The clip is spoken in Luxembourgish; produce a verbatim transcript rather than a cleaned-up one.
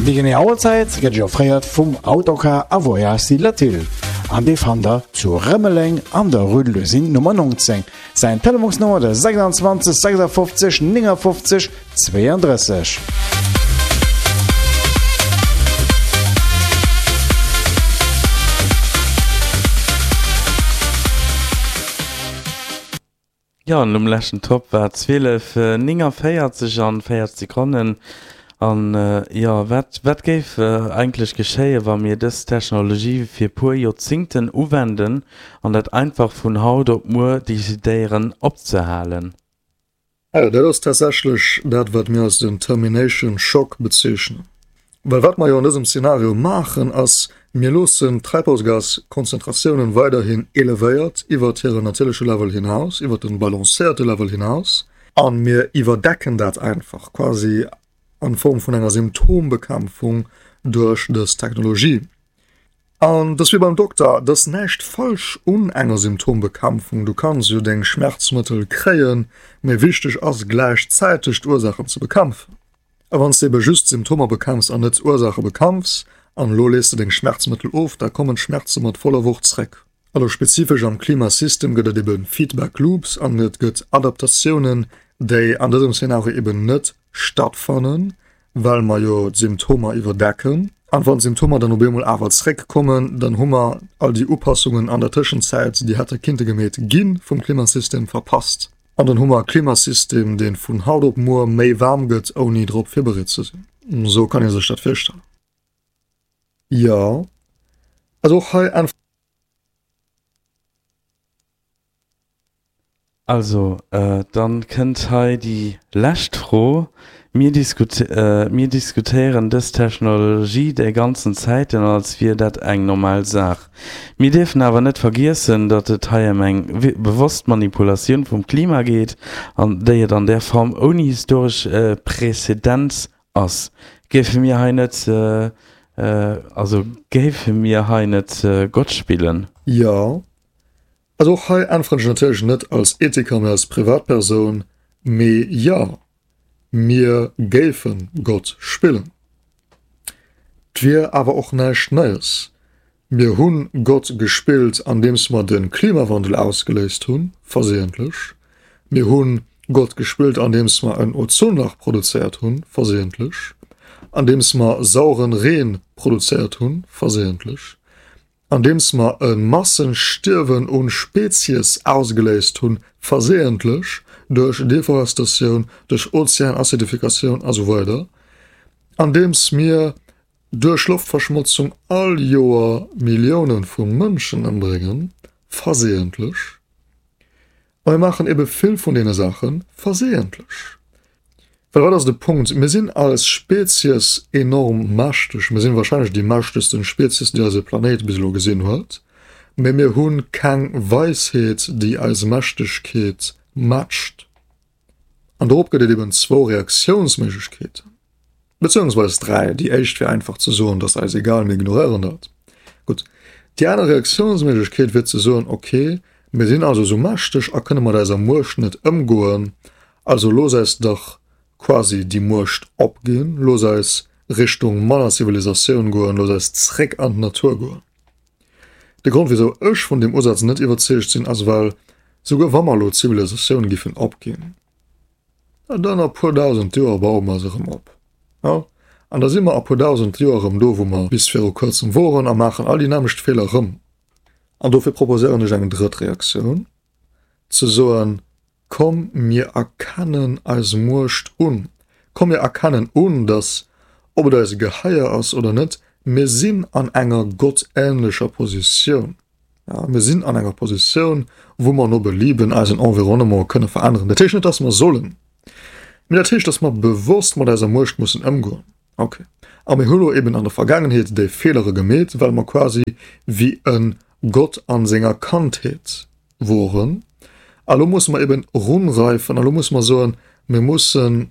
Déi genee Auerzäit gëtt Iech offréiert vum Autocar a Voyages Latil an dee fannt der zu Rëmeleng an der Rue de l'Usine Nummer neunzéng. Säin Telefonsnummer de sechsundzwanzeg sechsundfünfzig neunundfünfzig zweiunddrësseg. Jo, an um leschten Topp war zwielef néngundvéierzeg an véierzeg Sekonnen. An jo, wat, wat géif eigentlech geschéien, wa mir dës Technologie fir puer Joerzingten uwenden an dat einfach vun haut op muer decidéieren opzehalen? Jo, dat ass tatsächlech dat, wat mir als den Termination Shock bezeechnen. Well wat mer jo an dësem Szenario maachen, ass, mir loossen d'Treibhausgaskonzentratiounen weiderhin elevéiert iwwert hiren natierleche Level hinaus, iwwert de balancéierte Level hinaus, a mir iwwerdecken dat einfach quasi an Form vun enger Symptombekämpfung duerch dës Technologie. An dass wéi beim Dokter, dass näischt falsch un enger Symptombekämpfung, du kanns jo deng Schmerzmëttel kréien, mee wichteg ass gläichzäiteg d'Ursaachen ze bekämpfen. A wann s de ebe just d'Symptomer bekämpfs an net d'Ursaache bekämpfs, an elo lees de deng Schmerzmëttel of, da kommen d'Schmerze mat voller Wucht zréck. Also spezifesch am Klimasystem gëtt et ebe Feedback Loops an et gëtt Adaptatiounen, déi an dësem Szenario eben net stattfannen, well mer jo d'Symptomer iwwerdecken. An wann d'Symptomer dann op eemol awer zréckkommen, dann hu mer all déi Upassungen an der Tëschenzäit, déi hätte kinnte gemeet gi vum Klimasystem, verpasst. An dann hu mer e Klimasystem, dee vun haut op muer méi waarm gëtt, ouni drop virbereet ze sinn. Esou kann ee sech dat virstellen. Jo, also och hei äntweren. Also, dann kënnt hei déi lescht Fro. Mir mir diskutéieren dës Technologie déi ganzen Zäiten, als wier dat eng normal Saach. Mir dierfen awer net vergiessen, datt et hei ëm eng bewosst Manipulatioun vum Klima geet, an déi et an där Form ouni historesch Präzedenz ass. Géife mir hei net, also géife mir hei net Gott spillen? Jo, also och hei äntweren ech natierlech net als Ethiker, mee als Privatpersoun, mee jo, mir géife Gott spillen. 't wier awer och näischt Neies. Mir hu Gott gespillt, andeems mer de Klimawandel ausgeléist hunn, versehentlech. Mir hu Gott gespillt, andeems mer en Ozonlach produzéiert hunn, versehentlech, andeems mer sauren Reen produzéiert hunn, versehentlech. Andeems mer e Massenstierwen un Spezies ausgeléist hunn, versehentlech, duerch Deforestatioun, duerch Ozeanacidifikatioun a sou weider, andeems mir duerch Loftverschmotzung all Joer Millioune vu Mënschen ëmbréngen, versehentlech. A mir maachen ebe vill vun deene Saache versehentlech. Well wat ass de Punkt? Mir sinn als Spezies enorm mächteg. Mir sinn wahrscheinlech déi mächtegsten Spezies, déi eise Planéit bis elo gesinn huet. Mee mir hu keng Weisheet, déi eis Mächtegkeet matcht. An dorop gëtt et eben zwou Reaktiounsméiglechkeeten. Bezéiungsweis dräi. Déi éischt wier einfach ze soen, dat ass eis egal, mir ignoréieren dat. Gutt. Déi aner Reaktiounsméiglechkeet wier ze soen, ok, mir sinn also esou mächteg a kënne mat eiser Muecht net ëmgoen, also looss eis dach quasi déi Muecht opginn, looss eis Richtung manner Zivilisatioun goen, looss eis zréck an d'Natur goen. De Grond wisou ech vun deem Usaz net iwwerzeegt sinn, ass well, souguer wa mer elo d'Zivilisatioun giffen opginn, dann a puer dausend Joer baue mer se erëm op, jo, an da si mer a puer dausend Joer erëm do wou mer bis viru kuerzem woren a maachen all déi nämmlecht Feeler erëm. An dofir proposéieren ech eng drëtt Reaktioun, ze soen, Komm mir erkennen eis Muecht un, komm mir erkennen un, datt, ob et eis geheier ass oder net, mir sinn an enger gottähnlecher Positioun. Ja, mir sinn an enger Positioun, wou mer no Belieben eisen Environnement kënne veränneren. Dat heescht net, dass mer sollen, mee dat heescht, dass mer bewosst mat eiser Muecht mussen ëmgoen. Okay. A mir hu lo eben an der Vergaangenheet déi Feelere gemeet, well mer quasi wéi e Gott an senger Kandheet woren. A lo musse mer eben runreifen a lo musse mer soen, mir mussen